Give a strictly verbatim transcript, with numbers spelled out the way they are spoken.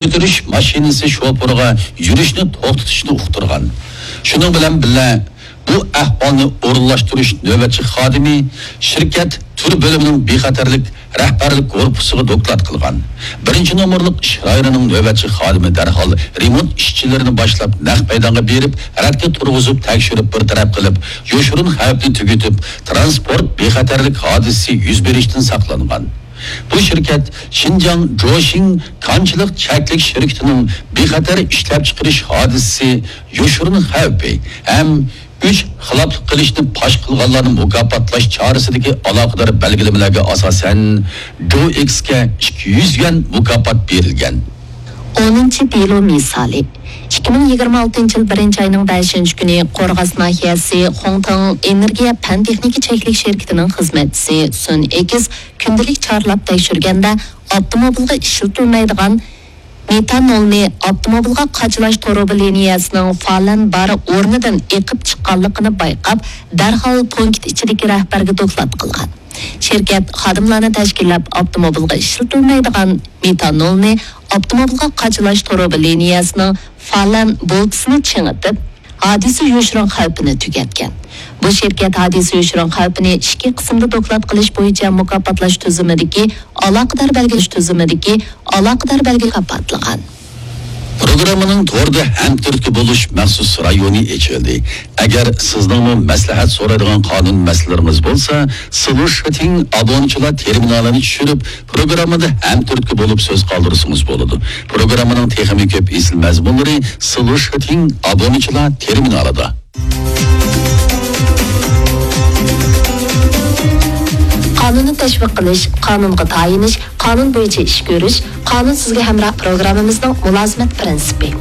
كۆتۈرۈش ماشىنىسى شوپۇرىغا يۈرۈشنى توختىتىشنى ئۇقتۇرغان. شۇنىڭ بىلەن بىللە، بۇ ئەھۋالنى ئورۇنلاشتۇرۇش نۆۋەتچى خادىمى شىركەت تۈر بۆلۈمىنىڭ بىخەتەرلىك رەھبەرلىك گۇرۇپپىسىغا دوكلات قىلغان. بىرىنچى نومۇرلۇق ئىش رايونىنىڭ نۆۋەتچى خادىمى دەرھال رېمونت ئىشچىلىرىنى باشلاپ، نەق مەيدانغا بېرىپ، رەتكە تۇرغۇزۇپ، تەكشۈرۈپ بىر تەرەپ قىلىپ، يوشۇرۇن خەۋپنى تۈگىتىپ، تىرانسپورت بىخەتەرلىك ھادىسىسى يۈز بېرىشتىن ساقلانغان. بۇ شىركەت شىنجاڭ جوشىڭ كانچىلىق چەكلىك شىركىتىنىڭ بىخەتەر ئىشلەپچىقىرىش ھادىسىسى يوشۇرۇن خەۋپى ھەم ئۈچ خىلاپلىق قىلىشنى پاش قىلغانلارنى مۇكاپاتلاش چارىسىدىكى ئالاقىدار بەلگىلىمىلەرگە ئاساسەن، جوئېكسكە ئىككى يۈز يۈەن مۇكاپات بېرىلگەن. ئونىنچى دېلو مىسالى. ئىككى مىڭ يىگىرمە ئالتىنچى يىل بىرىنچى ئاينىڭ بەشىنچى كۈنى قورغاس ناھىيەسى خۇڭتىڭ ئېنېرگىيە پەن تېخنىكا چەكلىك شىركىتىنىڭ خىزمەتچىسى سۈن ئېكىس كۈندىلىك چارلاپ تەكشۈرگەندە، ئاپتوموبىلغا ئىشلىتىلمەيدىغان مېتانولنى ئاپتوموبىلغا قاچىلاش تۇرۇبا لىنىيەسىنىڭ فالەن بار ئورنىدىن ئېقىپ چىققانلىقىنى بايقاپ، دەرھال پونكىت ئىچىدىكى رەھبەرگە دوكلات قىلغان. شىركەت خادىملارنى تەشكىللەپ، ئاپتوموبىلغا ئىشلىتىلمەيدىغان مېتانولنى ئاپتوموبىلغا قاچىلاش تۇرۇبا لىنىيەسىنىڭ فالەن بولتىسىنى چىڭىتىپ، ھادىسە يوشۇرۇن خەۋپىنى تۈگەتكەن. بۇ شىركەت ھادىسە يوشۇرۇن خەۋپىنى ئىككى قىسىمدا دوكلات قىلىش بويىچە مۇكاپاتلاش تۈزۈمىدىكى ئالاقىدار بەلگىلەش تۈزۈمىدىكى ئالاقىدار بەلگە مۇكاپاتلىغان. پروگراممىنىڭ توردا ھەمتۈرتكە بولۇش مەخسۇس رايونى ئېچىلدى. ئەگەر سىزنىڭمۇ مەسلىھەت سورايدىغان قانۇن مەسىلىلىرىڭىز بولسا، سلۇشىتىڭ ئابۇنىچىلار تېرمىنالىنى چۈشۈرۈپ، پروگراممىدا ھەمتۈرتكە بولۇپ سۆز قالدۇرسىڭىز بولىدۇ. پروگراممىنىڭ تېخىمۇ كۆپ ئېسىل مەزمۇنلىرى سلۇشىتىڭ ئابۇنىچىلار تېرمىنالىدا. قانۇننى تەشۋىق قىلىش، قانۇنغا تايىنىش، قانۇن بويىچە ئىش كۆرۈش، قانۇن سىزگە ھەمراھ پروگراممىمىزنىڭ مۇلازىمەت پىرىنسىپى.